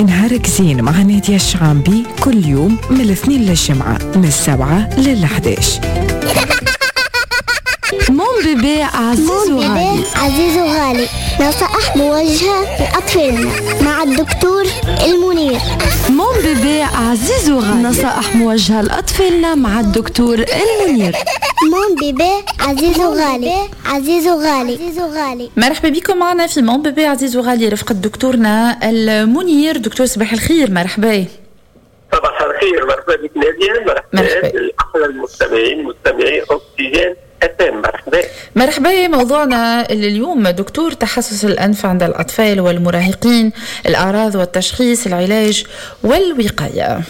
نهارك زين مع نادية الشعامبي كل يوم من الاثنين للجمعة من 7 لل11. mon bébé عزيز وغالي. عزيز وغالي، نصائح موجهة لأطفالنا مع الدكتور المنير. mon bébé عزيز وغالي، نصائح موجهة لأطفالنا مع الدكتور المنير. mon bébé عزيز وغالي، عزيز وغالي، عزيز وغالي. مرحبا بكم معنا في mon bébé عزيز وغالي رفقة دكتورنا المنير. دكتور صباح الخير، مرحبا. صباح الخير، مرحبا بك نادية، مرحبا باحلى المستمعين، مستمعي اكسجين FM، مرحبا. مرحبا. موضوعنا اليوم دكتور تحسس الانف عند الاطفال والمراهقين، الاعراض والتشخيص، العلاج والوقايه.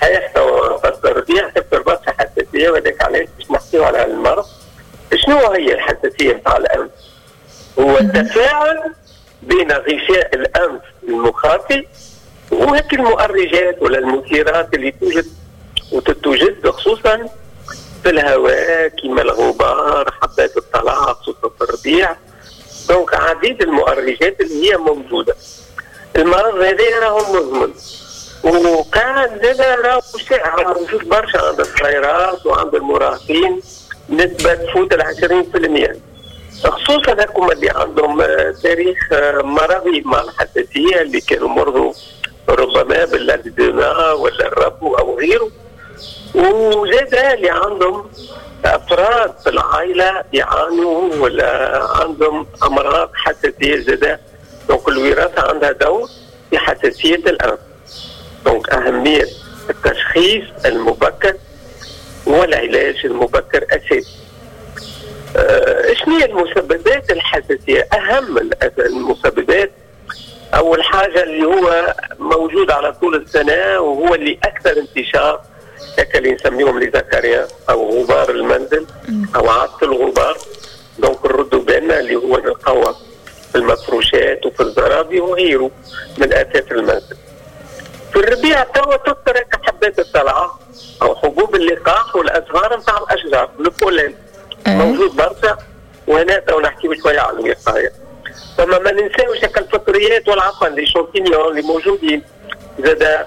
صحيح، تو فصل الربيع تكثر برشا حساسيه، وهذاك علاش باش نحكيو على المرض. شنو هي الحساسية نتاع الانف؟ هو التفاعل بين غشاء الانف المخاطي وهيك المؤرجات ولا المثيرات اللي توجد وتتوجد خصوصا في الهواء، كما الغبار، حبات الطلع، خصوصا في الربيع. donc عديد المؤرجات اللي هي موجوده. المرض هذا راهو مزمن، وكان زاد راهو شائع، موجود برشا عند الصغيرات وعند المراهقين، نسبة تفوت 20%، خصوصا هكما اللي عندهم تاريخ مرضي مع الحساسية، اللي كانوا مرضوا ربما بالأكزيما ولا الربو أو غيره، وزاد اللي عندهم افراد في العائلة يعانوا ولا عندهم امراض حساسية زاد. donc الوراثة عندها دور في حساسية الانف. donc اهمية التشخيص المبكر والعلاج المبكر اساسي. شنو هي المسببات الحساسيه؟ اهم المسببات، اول حاجة اللي هو موجود على طول السنة وهو اللي اكثر انتشار، اللي نسميهم les acariens او غبار المنزل او عفص الغبار. donc نردوا بالنا اللي هو نلقاوه في المفروشات وفي الزرابي وغيره من اثاث المنزل. في الربيع توا تكثر حبات الطلعة او حبوب اللقاح والازهار نتاع الاشجار، le pollen موجود برشا، وهنا تو نحكيو شوية على الوقايه. ثم ما ننساوش الفطريات والعفن، les champignons اللي موجودين، زاد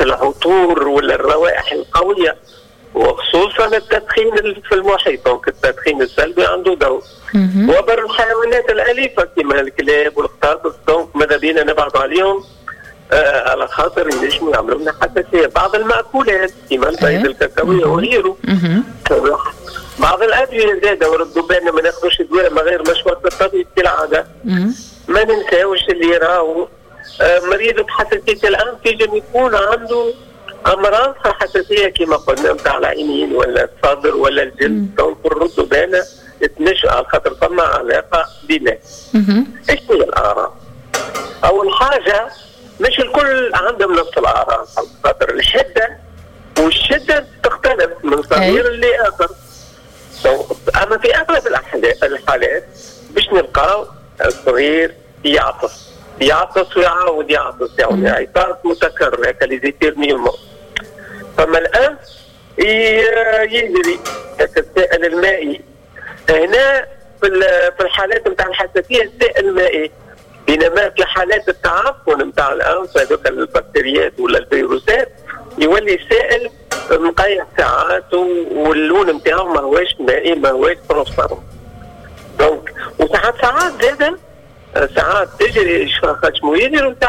العطور ولا الروائح القويه، وخصوصا التدخين في المحيط. donc التدخين السلبي عنده دور. وبر الحيوانات الاليفة كما الكلاب والقطاطس، donc ماذا بينا نبعد عليهم على خاطر ينجموا يعملوا لنا حساسيه. بعض المأكولات كما البيض، الكاكاويه وغيره. بعض الادوية زاده، وردوا بالنا ما ناخذوش دواء من غير مشورة الطبيب كالعاده. ما ننساوش اللي راهو مريض بحساسيه الانف ينجم يكون عنده امراض حساسية كما قلنا نتاع العينين ولا الصدر ولا الجلد. donc نردوا بالنا تنشأ على خاطر فما علاقة بينات. ايش هي الاعراض؟ اول حاجه، مش الكل عندهم نفس الاعراض، خاطر الحدة والشدة تختلف من صغير لاخر. اما في اغلب الحالات باش نلقاو الصغير يعطس، يعطس ويعاود يعطس، يعني عطاس متكرر، هكا les éternuements. فما الانف يجري السائل المائي هنا في الحالات نتاع الحساسية السائل المائي، بينما في حالات التعفن نتاع الانف، هذوك البكتيريات ولا الفيروسات، يولي سائل مقيح ساعات واللون نتاعو ما هواش مائي، ما هواش transparent. donc وساعات ساعات زاده ساعات تجري خشمو يجري وساعات